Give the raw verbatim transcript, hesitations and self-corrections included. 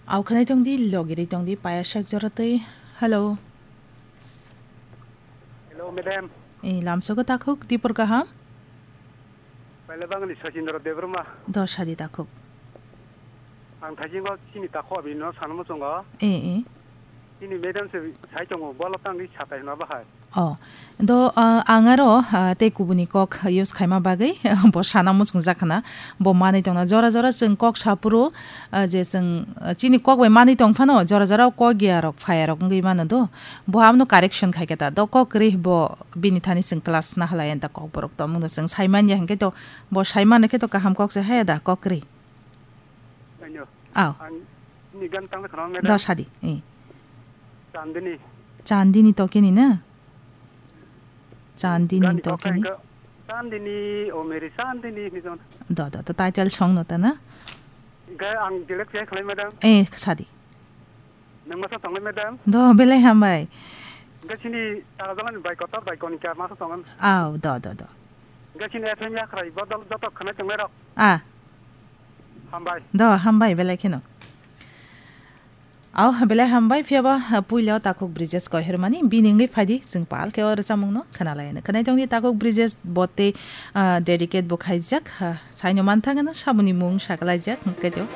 Au khwnai tong di, logiri tong di, paya sak jora twi. Hello. Hello, madam. Eh, lamsogo takhuk, dipor kaham? Paila bangni Sachindra Debbarma. Do sadi takhuk. Ang thajingo chini takho abini no sanmo chongo. Eh, eh. Chini madam se sai tongo, bolo tangwi satai hwnba hai. Oh, do, ah, ang aro, ah, tei kubuni kok use khaima bagwi bo sana muchungjak khna. Bo manwi tongna jora jora chwng kok sapuru, ah, je chwng, ah, chini kok bai manwi tong phano jora jora kok ya rok phaya rok wngwi mano do. Bo amno correction khai khe ta. Do kok kwrwi bo bini thani chwng class na halai anta kok borok tongmung do chwng sai manya hinkhe to bo sai mano khe to kaham kok se haya da kok kwrwi. Ayo. Aw. Ang ni gan tang khana Do madam. Sadi. Eh. Chandini. Chandini to kini na? Chandini Gani to kok kini. Ka Chandini, o meri Chandini ni jon. Do, do, to title song no ta na? Ga ang direct ya khlai madam. Eh, sadi. Nang masa tong madam. Do, belai hambai. Ga sini tara jalan bai kotor bai konika masa tong. Aw, do, do, do. Ga sini F M ya khrai bodol joto khana tong rok. Ah. Hambai. Do, hambai belai kheno. Aw, belai hambai, phiyaba, ha, puila takhuk Brijesh Kohirmani, bini wngwi phaidi, chwng pal khe o rwchapmungno khwnalayano. Khwnai tongdi takhuk Brijesh botte, ah, dedicate bo khaijak, ha, saino manthangano saboni mung sakalaijak, hwnkhe to.